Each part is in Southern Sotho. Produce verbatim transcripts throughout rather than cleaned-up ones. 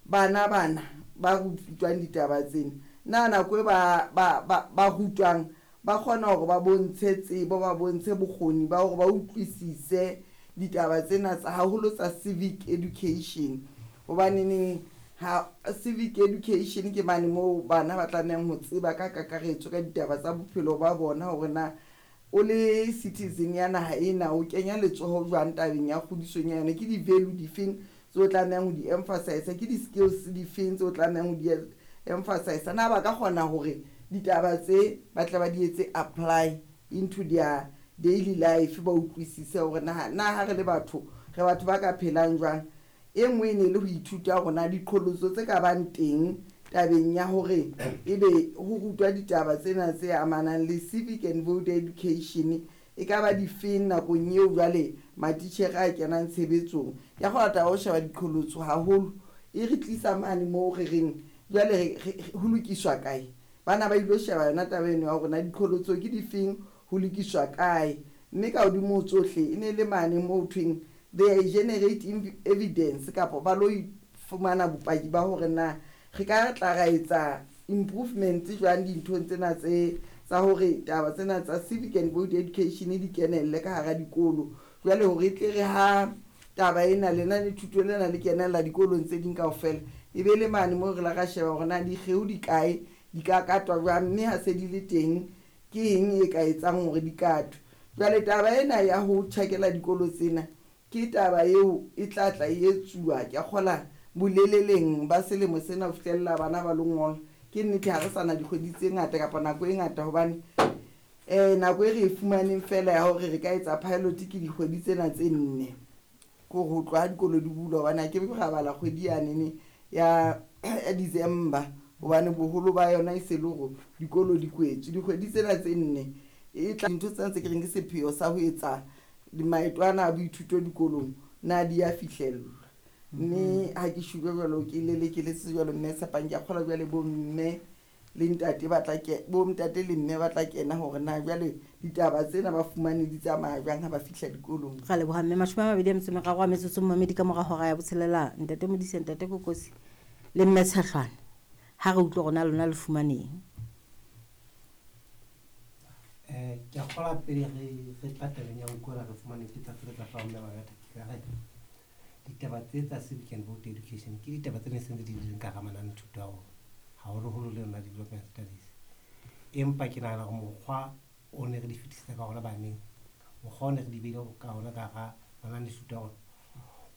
Bana bana ba rutwang ditaba tsena, na nako e ba ba ba ba rutwang ba kgona hore ba bontshe tsebo, ba bontshe bokgoni ba hore ba utlwisise ditaba tsena tsa haholo tsa civic education? Hobaneneng ha civic education ke mane moo bana ba tlamehang ho tseba ka kakaretso ka ditaba tsa bophelo ba bona, hore na o le citizen ya naha ena o kenya letsoho jwang tabeng ya kgodisong ya yona, ke di-value difeng tse o tlamehang ho di emphasize, ke di-skills difeng tse o tlamehang ho di emphasize. Na ba ka kgona hore ditaba tse ba tle ba di etse apply into their daily life, ba utlwisise hore na na ha re le batho, re batho ba ka phelang jwang? E nngwe e ne le ho ithuta hore na diqholotso tse ka bang teng tabeng ya hore ebe ho rutwa ditaba tsena tse amanang le civic and voter education e ka ba difeng nakong eo jwale matitjhere a kenang tshebetsong. Ke kgola taba ho sheba diqholotso haholo e re tlisa mane moo re reng jwale ho lokiswa kae. Bana ba ilo sheba yona taba eno ya hore na diqholotso ke difeng, ho lokiswa kae. Mme ka hodimo ho tsohle e ne le mane moo thweng they generate evidence, kapa ba lo fumana bopaki ba hore na re ka tla ra etsa improvement jwang dinthong tsena tse tsa hore taba tsena tsa civic and voter education di kenelle ka hara dikolo. Jwale hore e tle re ha taba ena lenane thuto lena le kenella dikolong tse ding kaofela, e be le mane moo re la ra sheba hore na dikgeo di kae, di ka katwa jwang, mme ha se di le teng ke eng e ka etsang hore di katwe. Jwale taba ena ya ho tjhakela dikolo tsena ke taba eo e tla tla e etsuwa, ke a kgola boleleleng ba selemo sena ho fihlella bana ba lo ngola. Ke nnete ha re sana dikgwedi tse ngata kapa nako e ngata, hobane um nako e re e fumaneng fela ya hore re ka etsa pilot ke dikgwedi tsena tse nne, ke hore ho tloha dikolo di bulwa, hobane ha ke be ra bala kgwedi yanene ya ya December, hobane boholo ba yona e se le hore dikolo di kwetswe. Dikgwedi tsena tse nne e tla dintho tsena tse ke reng ke sepheo sa ho etsa maeto ana a boithuto dikolong na di a fihlellwa. Mme ha ke shebile jwalo, ke lelekeletse jwalo mme Tshepang, ke a kgolwa jwale bo mme le ntate ba tla ke bo ntate le mme ba tla kena hore na jwale ditaba tsena ba fumane di tsamaya jwang ha ba fihla dikolong. Ra leboha mme. Mashome a mabedi a metso e meraro a metsotso momamedi ka mora hora ya botshelela. Ntate Modise, ntate Kokosi le mme Tshehlwane, ha re utlwe rona lona le fumaneng. Eh ke a kgolwa pele re re tla tabeng ya ho utlwa re fumane ke tla tla fa mme ba ke ka re ditaba tse tsa civic and voter education ke ditaba tse ne sentse di leng ka hara manane thuto a rona, haholoholo le yona development studies. Empa ke nahana hore mokgwa o ne re di fetisetsa ka hona baneng, mokgwa o ne re di beile ka hona ka hara manane thuto a rona,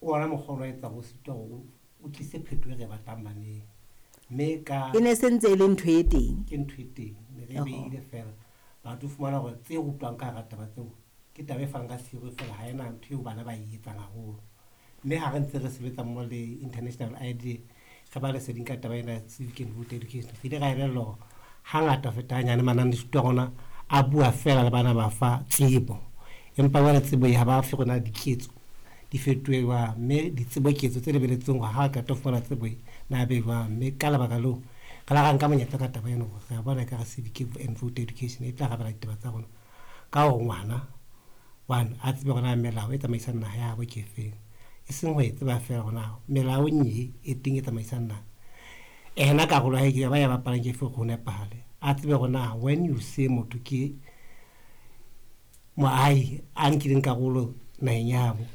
o ona mokgwa o etsa ho sitwa hore o tlise phetoho e re batlang baneng. Mme ka e ne sentse e le ntho e teng, ke ntho e teng ne re beile fela batho fumana hore tse rutwang ka hara taba tseo ke taba e fanang ka theory fela, ha ena ntho eo bana ba e etsang haholo. Mme ha re ntse re sebetsa mmoho le International I D re ba leseding ka taba ena civic and voter education, re ile ra elellwa hore hangata ho feta hanyane manane thuto a rona a bua fela le bana ba fa tsebo, empa jwale tsebo e ha ba fe rona diketso di fetohe jwang, mme ditseboketso tse lebeletsweng hore ha qeta ho fumana tsebo e na be jwang. Mme ka lebaka leo re la ra nka monyetla ka taba ena hore re a bona ekare civic and voter education e tla arabela ditaba tsa rona ka hore ngwana one a tsebe hore na melao e tsamaisang naha ya habo ke efeng, e seng ho e tseba fela hore na melaong e e teng e tsamaisang naha ena karolo ya hae ke ba ya bapalang ke efe hore ho nepahale. A tsebe hore na when you say motho ke moahi a nkileng karolo naheng ya habo,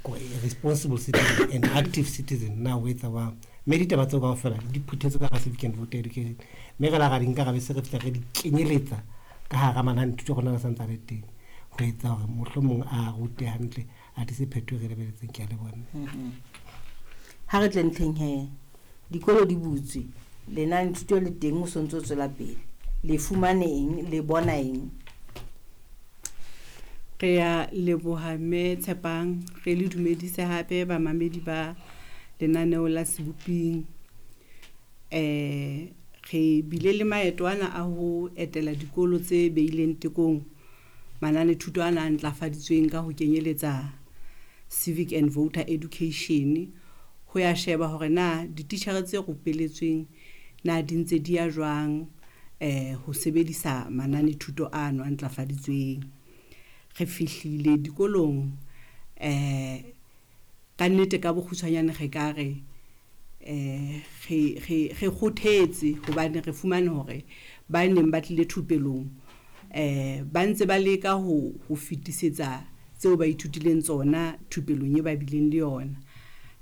responsible citizen and active citizen, na o etsa jwang. Mme ditaba tseo kaofela di phuthetswe ka hara civic and voter education, mme re la ra di nka ra be se re fihla re di kenyeletsa ka hara manane thuto rona a santse a le teng ho etsa hore mohlomong a rute hantle, a tlise phetoho e re lebeletseng. Ke a leboha. Ha re tle ntlheng he, dikolo di butswe, lenane thuto le teng, o sontso tswela pele, le fumane eng, le bona eng? Re a leboha mme Tshepang, re le dumedise hape bamamedi ba lenaneo la Seboping. Eh re bile le maeto ana a ho etela dikolo tse beileng tekong manane thuto ana a ntlafaditsweng ka ho kenyeletsa civic and voter education, ho ya sheba hore na dititjhere tse rupelletsweng na di ntse di ya jwang eh ho sebedisa manane thuto ano a ntlafaditsweng. Re fihlile dikolong eh ka nnete ka bokgutshwanyane re ka re Eh re re re kgothetse hobane re fumane hore ba neng ba tlile thupelong eh ba ntse ba leka ho ho fetisetsa tseo ba ithutileng tsona thupelong e ba bileng le yona.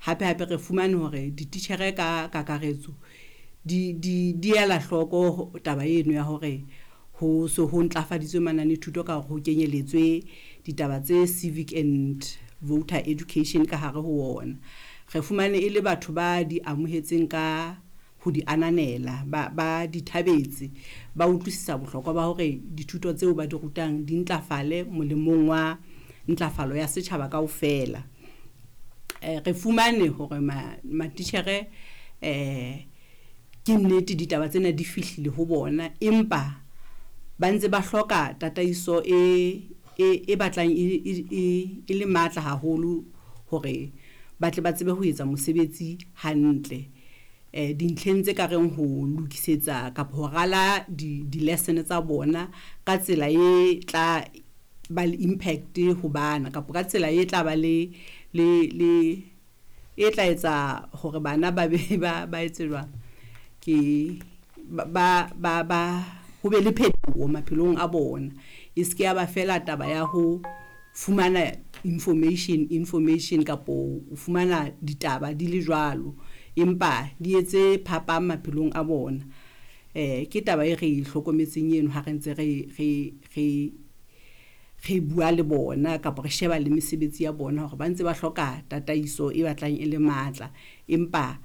Hape hape re fumane hore dititjhere ka kakaretso di di di ela hloko taba eno ya hore ho so ho ntlafaditswe manane thuto ka hore ho kenyeletswe ditaba tse civic and voter education ka hare ho ona. Re fumane e le batho ba di amohetseng ka ho di ananela, ba ba di thabetse, ba utlwisisa bohlokwa ba hore dithuto tseo ba di rutang di ntlafale molemong wa ntlafalo ya setjhaba kaofela. Eh re fumane hore matitjhere eh ke nnete ditaba tsena di fihlile ho bona, empa ba ntse ba hloka tataiso e e batlang e e le matla haholo hore ba tle ba tsebe ho etsa mosebetsi hantle. Eh dintlheng tse ka reng ho lokisetsa kapa ho rala di di-lesson tsa bona ka tsela e tla ba le impact ho bana, kapa ka tsela e tla ba le le le e tla etsa hore bana ba be ba ba etse jwang ke ba ba ba ho be le phetoho maphelong a bona. E se ke ya ba fela taba ya ho fumana information information kapo o fumana ditaba di le jwalo, empa di etse phapang maphelong a bona. Eh ke taba e re hlokometseng eno ha re ntse re re re re bua le bona kapa re sheba le mesebetsi ya bona hore ba ntse ba hloka tataiso e batlang e le matla, empa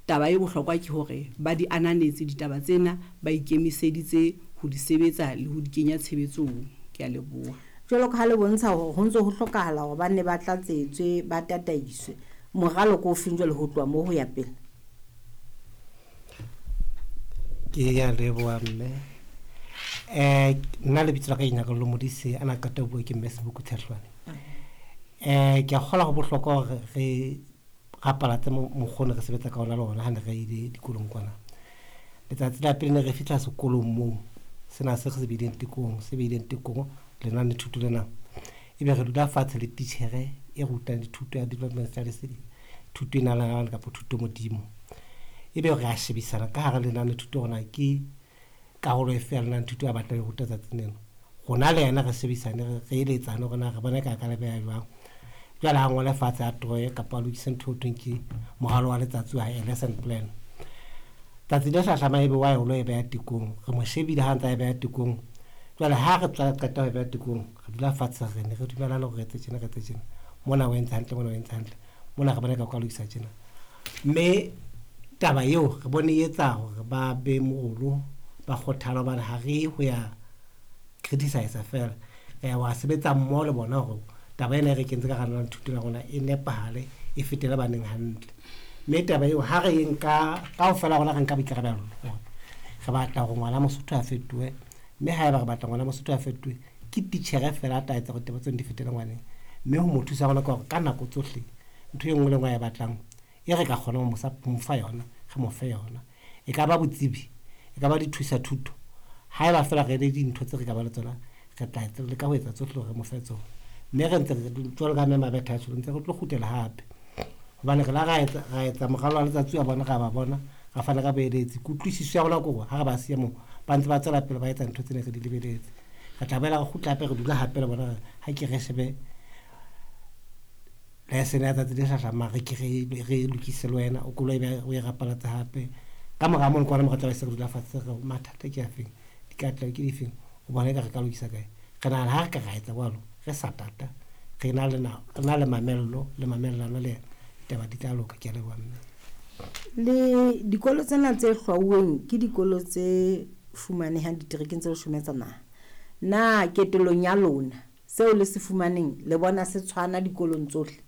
taba e bohlokwa ke hore ba di ananetse ditaba tsena, ba ikemiseditse ho di sebetsa le ho di kenya tshebetsong. Ke a leboha. Jwalo ka ha le bontsha hore ho ntse ho hlokahala hore ba nne ba tlatsetswe, ba tataiswe, moralo ke o feng jwale ho tloha moo ho ya pele? Ke a leboha mme. Eh nna lebitso la ka ke Nyakallo Modise, ana qeta ho bua ke mme Seboko Tshehlwane. Eh ke a kgolwa ho bohlokwa hore re rapalatse mokgwa re sebetsa ka ona le ona ha ne re ile dikolong kwana. Letsatsi la pele ne re fihla sekolong moo, sena se re se beileng tekong, se beileng tekong lenane thuto lena. Ebe re dula fatshe le titjhere e rutang dithuto ya development studies, thuto e nalanang kapa thuto modimo. Ebe re a shebisana ka hara lenane thuto hore na ke karolo efe ya lenane thuto a batlang ho ruta tsatsing lena. Rona le yena re shebisane, re eletsane hore na re bona ka ka le beha jwang. Jwale ha ngole fatshe a troye kapa a lokise ntho eo thweng ke moralo wa letsatsi wa hae, lesson plan. Tsatsi le hlahlamang ebe wa ya ho lo e beha tekong, re mo shebile ha ntse a e beha tekong. Jwale ha re tla qeta ho e beha tekong, re dula fatshe re ne re dumellana hore re etse tjena, re etse tjena. Mona o entse hantle, mona o entse hantle. Mona re bona ka o ka lokisa tjena. Mme taba eo re bone e etsa hore ba be morolo, ba kgothala hobane ha re ho ya criticize feela. Re ya wa sebetsa mmoho le bona hore taba ena e re kentse ka hara thuto ya rona e nepahale, e fetele baneng hantle. Mme taba eo ha re e nka kaofela rona re nka boikarabelo hore re batla hore ngwana Mosotho a fetohe, mme haeba re batla ngwana Mosotho a fetohe ke titjhere feela a tla etsa hore taba tseno di fetele ngwaneng. Mme ho mo thusa rona ke hore ka nako tsohle ntho e nngwe le nngwe a e batlang e re ka kgona ho mo fa yona, re mo fe yona. E ka ba botsebi, e ka ba dithusa thuto, haeba feela re le dintho tse re ka ba le tsona, re tla leka ho etsa tsohle hore re mo fe tsona. Mme re ntse jwalo ka mme Mabetha a tjho, ntse re tlo kgutlela hape hobane re la ra etsa ra etsa moralo wa letsatsi wa bona, ra ba bona, ra fana ka boeletsi. Kutlwisiso ya rona ke hore ha re ba siya moo ba ntse ba tswela pele ba etsa ntho tsene re di lebeletse. Re tla boela re kgutla hape, re dula hape le bona, ha ke re shebe lesson ya tsatsi le hlahlamang, re ke re re lokise le wena, o koloi o e rapalatse hape. Ka mora mono ke hona moo re tla be se re dula fatshe re mathata ke afeng, dikatleho ke difeng, o bona eka re ka lokisa kae. Re nahana ha re ka ra etsa jwalo, re sa tata, re na le re na le mamello le mamellano le yena, ditaba di tla loka. Ke a leboha mme. Le dikolo tsena tse hlwauweng ke dikolo tse fumanehang diterekeng tse leshome tsa naha. Na ketelong ya lona seo le se fumaneng le bona se tshwana dikolong tsohle?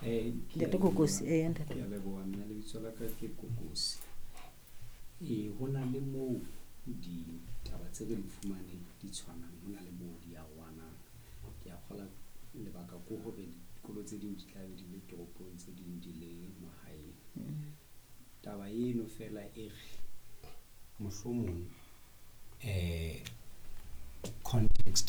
Eh, Ntate Kokosi, eh ntate. Ke a leboha mme, lebitso la ka ke Kokosi. Eh ho na le moo ditaba tse re di fumaneng di tshwanang, ho na le moo di arohanang. Ke a kgolwa lebaka ke hore dikolo tse ding di tla be di le toropong, tse ding di le mahaeng. Taba eno fela e re mohlomong eh context